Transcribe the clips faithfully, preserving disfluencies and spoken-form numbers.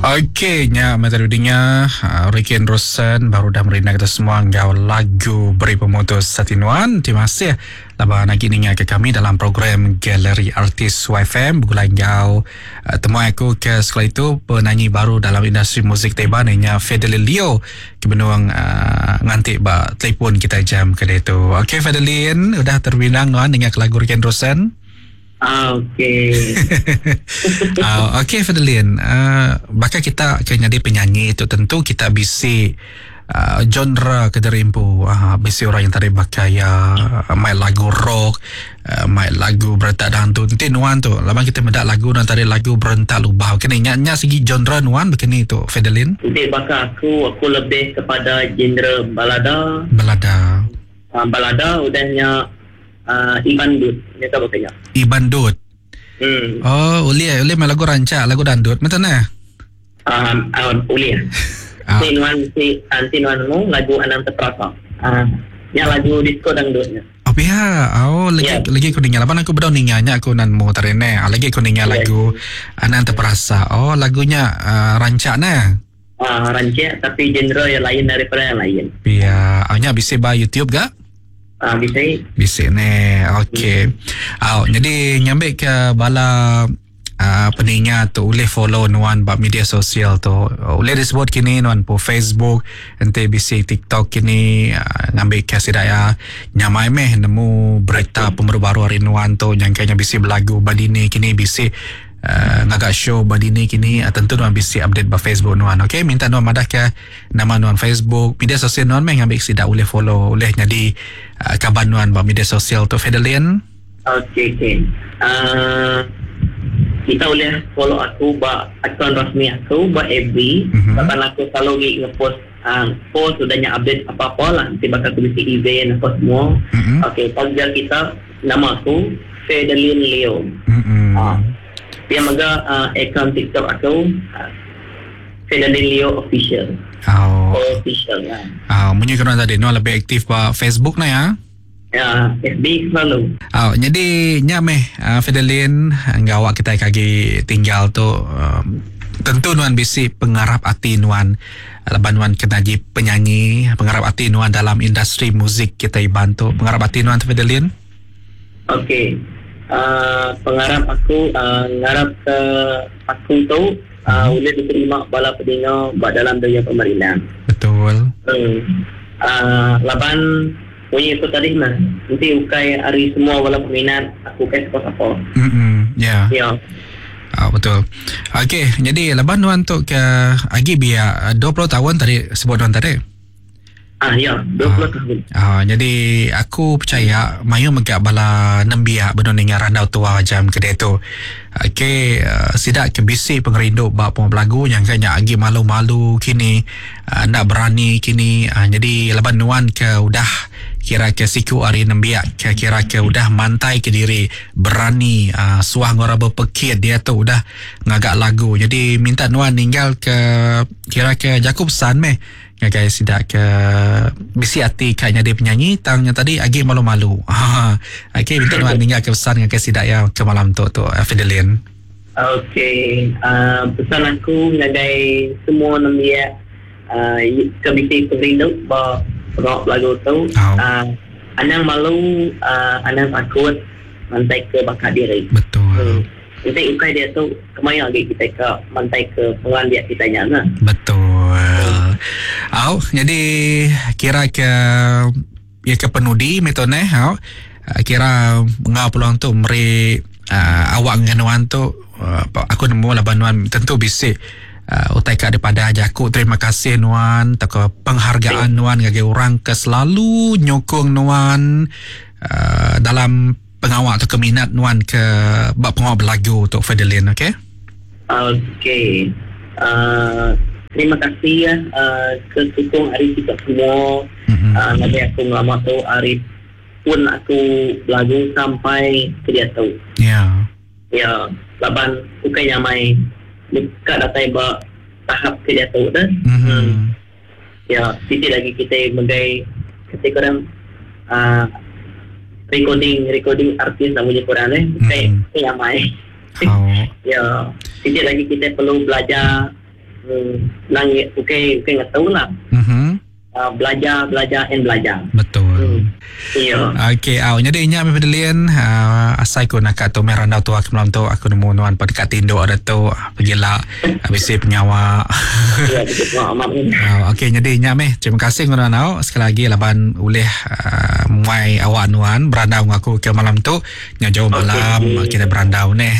Okey, nya mata dunia uh, Ricky Rosen baru dah merindang kita semua ngau lagu Beri Pemutus Satinuan. Terima kasih laban lagi ninga ke kami dalam program Galeri Artis Y F M begulai ngau uh, temuai aku ke sekolah itu, penyanyi baru dalam industri muzik Taiwan nya Fedelin Leo ke benuang uh, nganti ba telefon kita jam ke itu. Okey Fedelin, udah terbinang nuan dengan lagu Ricky Rosen? Ah, okey. uh, okey Fedelin, uh, bakal kita ke jadi penyanyi itu tentu kita bisi uh, genre ke derimpu. Uh, bisi orang yang tadi bakal ya main lagu rock, uh, main lagu berentak dangdut. Nanti nuan tu, lama kita mendak lagu dan tadi lagu berentak lubah. Kena ingatnya segi genre nuan begini tu, Fedelin? Nanti bakal aku, aku lebih kepada genre balada. Balada. Uh, balada udahnya uh, Iban Dut. Ini tahu kayaknya. Iban Dut. Hmm. Oh, boleh, boleh main lagu rancak, lagu dandut. Macam mana? Um, uh, boleh. Ah. Si nuan si anti nuan mu lagu Anang Terperasa. Ah, uh, yang lagu disco dangdutnya. Oh ya, oh lagi Ya. lagi aku dengar. Lapan aku bedau ninganya aku nan mu tarene. Ah, lagi aku dengar Ya. lagu Anang Terperasa. Oh, lagunya uh, rancak nah. Ah, uh, rancak tapi genre yang lain daripada yang lain. Ya, hanya bisa ba YouTube gak? Ah, uh, bisa. Bisa ni. Okey. Oh, jadi nyambik ke bala uh, peningat tu boleh follow nuan bab media sosial tu. Boleh disebut kini nuan po Facebook, ente bisi TikTok kini uh, ngambil ke sidaya nyamai meh nemu berita pembaru baru hari nuan tu yang kayaknya bisi belagu badini kini bisi uh, ngagak show badini kini uh, tentu nuan bisi update ba Facebook nuan. Okey, minta nuan madah ke nama nuan Facebook, media sosial nuan meh ngambil sidak boleh follow, boleh jadi uh, kabar nuan ba media sosial tu, Fedelin. Okey, okey. Uh, kita boleh follow aku ba akaun rasmi aku ba F B. Mhm. Bahkan aku selalu ngi ngepost uh, post sudahnya update apa-apa lah. Nanti bakal aku bisi event apa semua. Mm-hmm. Okey, panggil kita nama aku Fedelin Leo. Mm-hmm. Ah. Dia mega uh, akaun TikTok aku uh, Fedelin Leo Official. Oh. Official ya. Ah, munyi kena tadi nuan lebih aktif ba Facebook na ya. Ya, F B selalu. Oh, jadi nya meh uh, Fedelin ngawak kita kagi tinggal tu um, tentu nuan bisi pengarap ati nuan laban nuan kena ji penyanyi, pengarap ati nuan dalam industri muzik kita ibantu, pengarap ati nuan tu, Fedelin? Okey. Uh, pengarap aku uh, ngarap ke aku tu uh, boleh diterima bala pedina buat dalam dunia pemerintah. Betul. Hmm. Uh, laban bunyi itu tadi mah. Nanti ukai hari semua bala peminat aku kai siapa-siapa. Mm ya. Ya. Ah, betul. Okey, jadi laban nuan tu ke agi biar dua puluh tahun tadi sebut nuan tadi. Ah ya, dua puluh tahun. Ah, jadi aku percaya mayu megak bala nembiak benar ningar randau tua jam kedai tu. Okey, uh, sidak ke bisi pengerindu bab pemain lagu yang kayaknya agi malu-malu kini, uh, nak berani kini. Uh, jadi laban nuan ke udah kira ke siku hari nembiak ke kira ke udah mantai ke diri berani uh, suah ngora berpekit dia tu udah ngagak lagu. Jadi minta nuan ninggal ke kira ke Jakub San meh ngagai sidak ke bisi hati kayaknya dia penyanyi tang yang tadi agi malu-malu. Ha, okey, minta nuan ninggal ke pesan ngagai sidak ya ke malam tu tu uh, Fedelin. Okey, uh, pesan aku ngagai semua nembiak uh, ke bisi pengerindu ba pengawak lagu tu. Oh. Uh, anang malu, uh, anang takut mantai ke bakat diri. Betul. Hmm. Nanti ukai dia tu kemaya lagi kita ke mantai ke pengandiak kita nya nah. Betul. Au, jadi kira ke ya ke penudi metone au. Kira ngau peluang tu meri uh, awak dengan tu uh, aku nemu lah nuan tentu bisik uh, utai ka daripada aja aku terima kasih nuan atau ke penghargaan nuan bagi orang ke selalu nyokong nuan uh, dalam pengawak atau keminat nuan ke bab pengawak berlagu untuk Fedelin, okey? Okey. Uh, terima kasih ya uh, ke sukong hari kita semua. Mm-hmm. Uh, ngagai aku ngelama tu hari pun aku lagu sampai ke dia tu. Ya. Ya, laban bukan yang mai dekat datai ba tahap ke dia tu dah. Mm-hmm. Hmm. Ya, titik lagi kita megai kita kurang uh, recording recording artis namanya kurang eh. Bukan Mhm. yang mai. Oh. Ya, titik lagi kita perlu belajar Hmm, nang okey okey ngetau lah. Mhm. Uh, belajar belajar and belajar. Betul. Hmm. Iya. Okey, au jadi nya Fedelin, uh, asai ku nak tu meh randau tua ke malam tu aku nemu nuan pada dekat tinduk ada tu pergilah habis penyawa. Ya, betul amat. Uh, okey, jadi nya meh terima kasih nuan au sekali lagi laban ulih uh, muai awak nuan berandau dengan aku ke malam tu nya jauh malam Okey. kita berandau neh.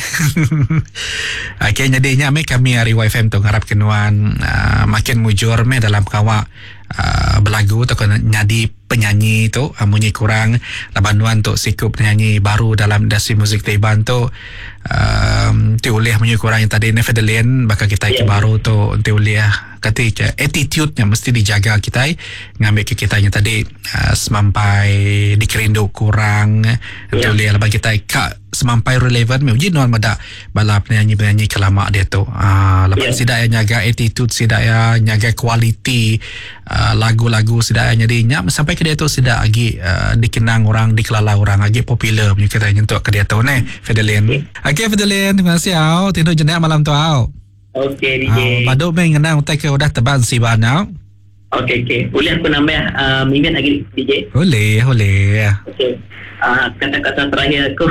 Okey, jadi nya meh kami hari Y F M tu ngarap ke nuan uh, makin mujur meh dalam kawak uh, belagu atau kena nyadi penyanyi tu uh, munyi kurang laban nuan tu sikup penyanyi baru dalam industri muzik Taiwan tu um, ti ulih munyi kurang yang tadi ni Fedelin bakal kita yeah. Ya. baru tu ti ulih kata ke attitude-nya mesti dijaga kita ngambil ke kita yang tadi uh, semampai dikerindu kurang yeah. Ya. ulih laban kita ka semampai relevan uji nuan meda bala penyanyi-penyanyi kelama dia tu uh, laban Ya. sidak ya nyaga attitude sidak ya nyaga kualiti uh, lagu-lagu sidak ya jadi nya sampai ke dia tu sidak lagi uh, dikenang orang dikelala orang lagi popular punya kata nyentuk ke dia tu neh Fedelin. Okey Fedelin, terima kasih au tinduk jenak malam tu au. Okey D J. Uh, baduk meh ngenang utai ke udah teban si ban au. Okey okey. Boleh aku nambah uh, minit lagi D J? Boleh, boleh. Okey. Uh, kata-kata terakhir aku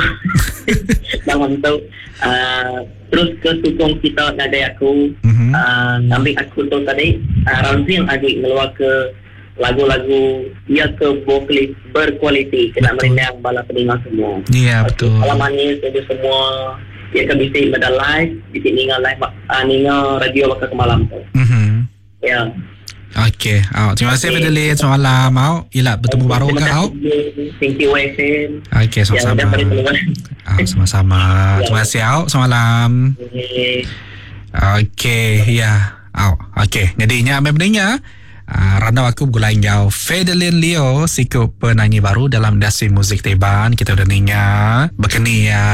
dalam tu uh, terus ke sokong kita ngagai aku Mhm. uh, ngambil aku tu tadi uh, Ramzi yang adik ngeluar ke lagu-lagu ia ke vokalis berkualiti kena Betul. merindang bala pendengar semua. Ya, Okey, betul. Salam manis untuk semua. Ia ke bisik pada live, bisik ninga live uh, ninga radio bakal ke malam tu. Mhm. Ya. Okey, au. Terima kasih Okey. Fedelin. Selamat malam au. Ila bertemu Okey, baru terima ke au. kasih. Thank you Y F M. Okey, Ya, sama-sama. dah beri peluang. Au, sama-sama. Terima kasih au. Selamat malam. Okey. Okey, ya. Au, okey. Jadi nya ame peningnya. Uh, randau aku bergulai enggau Fedelin Leo siku penyanyi baru dalam industri muzik Teban. Kita udah ninga berkeni ya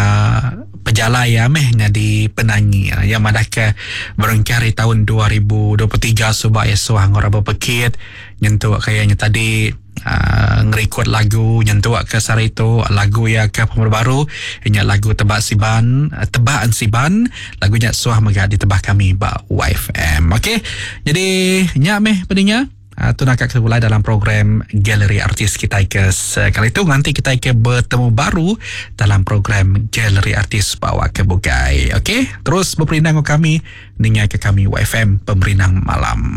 pejalai ya meh jadi penyanyi ya. Yang madah ke berengkari tahun dua ribu dua puluh tiga subak ya suah ngora berpekit nyentuk kayaknya tadi uh, ngerekod lagu nyentuk ke sari tu lagu ya ke pembaru baru nya lagu tebak siban tebak siban lagunya suah mega ditebah kami ba Y F M. Okey, jadi nya meh peningnya Uh, tu nak kat dalam program Galeri Artis kita ke sekali itu nanti kita ke bertemu baru dalam program Galeri Artis bawa ke Bukai. Okey, terus berperindang kami ningai ke kami Y F M Pemerindang Malam.